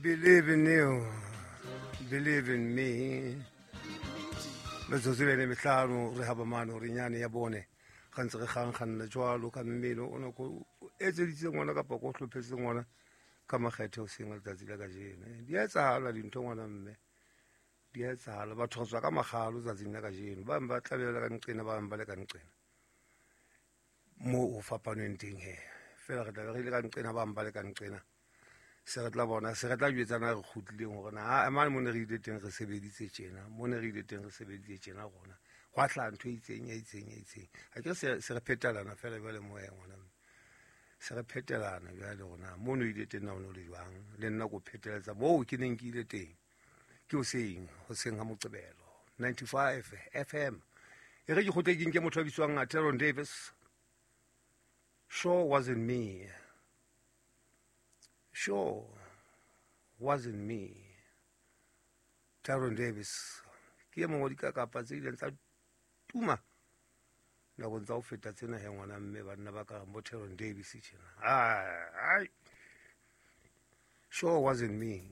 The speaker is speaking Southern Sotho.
Believe in you, believe in me. Metsotso e le metlhano re haba mane gore nyane ya bone ga ntse re kgankganna jwalo ka mmino o ne ko etseditse ngwana kapa ko hlophetse ngwana ka makgethe o seng letsatsi la kajeno. Di a etsahala dintho ngwana mme, di a etsahala. Batho re tswa ka makgalo tsatsing la kajeno, ba bang ba tlabe ba le ka nqena, ba bang ba le ka nqena moo ho fapanweng teng he. Feela re tlabe re ile ka nqena, ba bang ba le ka nqena. Se re tla bona, se re tla jwetsana re kgutlileng hore na mane mo ne re ile teng re sebeditse tjena, mo ne re ile teng re sebeditse tjena rona. Hwa hlaha ntho e itseng, e itseng, e itseng. Ha ke re se re phetelana feela jwale moya ngwana mme. Se re phetelana jwale rona mo no ile teng na o no le jwang, le nna ko pheteletsa moo ke neng ke ile teng. Ke hoseng, hoseng ha Moqebelo 95 FM. E re ke kgutle ke nke motho a bitswang Teron Davis. Sure wasn't me. Sure wasn't me. Tyron Davis ke e mongwe wa dikakapa tse ileng tsa tuma nakong tsa ho feta tsena he ngwana mme, banna ba ka bo Tyron Davis tjena. Ai, sure wasn't me.